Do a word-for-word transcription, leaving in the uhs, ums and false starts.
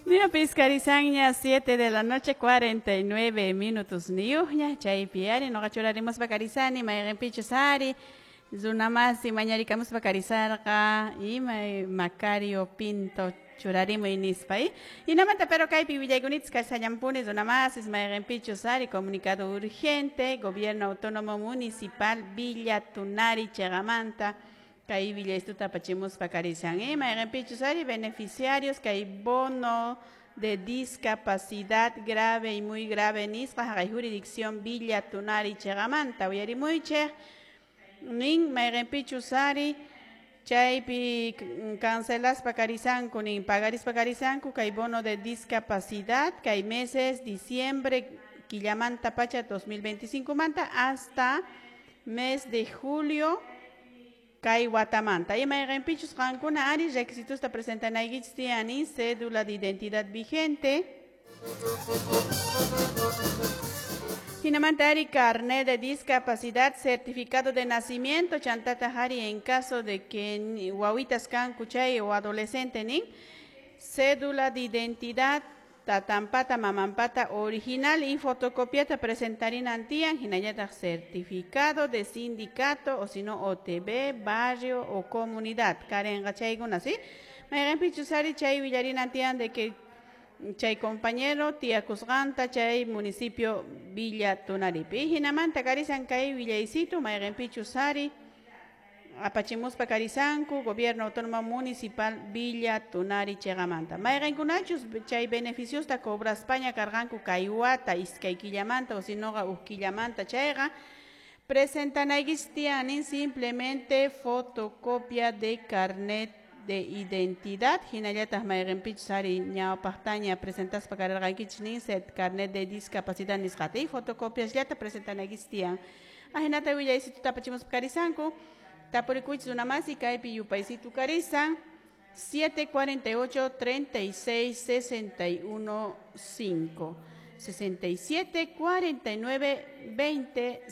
Ñapis karisanña siete de la noche cuarenta y nueve minutos niyuqña. Chaypi ari nuqa churarimuspa karisani mayqinpichus ari runamasi mañarikamuspa karisarqa ima Macario Pinto churarimuy nispa. Hinamanta, pero kaypi willaykunitas karisallampuni, runamasis, mayqinpichus ari comunicado urgente, Gobierno Autónomo Municipal Villa Tunari chiqamanta kay willaystuta apachimuspa karisan, eh mayqinpichus ari beneficiarios kay bono de discapacidad grave y muy grave nisqa haqay jurisdicción Villa Tunari chiqamanta. Uyarimuychik nin mayqinpichus ari chaypi cancelaspa karisanku nin pagarispa karisanku kay bono de discapacidad kay meses diciembre killamanta pacha dos mil veinticinco manta hasta mes de julio kay watamanta. Y mayqinpichus qankuna ari requisitosta presentanaykichis tiyan: cédula de identidad vigente, hinamanta ari carnet de discapacidad, certificado de nacimiento, chantata ari en caso de que wawitas kanku chay o adolescente nin cédula de identidad tatampata mamampata original y fotocopiata presentarinan tiyan, hinallataq certificado de sindicato o si no O T B, barrio o comunidad karenqa chaykuna, ¿sí? Mayqinpichus ari chay willarinan tiyan de que chay compañero tiyakusqanta chay municipio Villa Tunaripi. Hinamanta karisan kay willaysitu mayqinpichus ari apachimuspa karisanku Gobierno Autónomo Municipal Villa Tunari chiqamanta. Mayqinkunachus chay beneficiosta cobraspaña karqanku kay wata iskay killamanta o sinoqa huk killamanta chayqa presentanaykichis tiyan simplemente fotocopia de carnet de identidad, hinallataq mayqinpichus ari ñawpaqtaña presentaspa karqankichis nin set carnet de discapacidad nisqata y fotocopiasllata presentanaykichis tiyan. Ahinata willaysituta apachimuspa karisanku. Tapurikuychis runamasi, kaypi yupaysitu karisan siete cuarenta y ocho treinta y seis sesenta y uno cinco, sesenta y siete cuarenta y nueve veinte.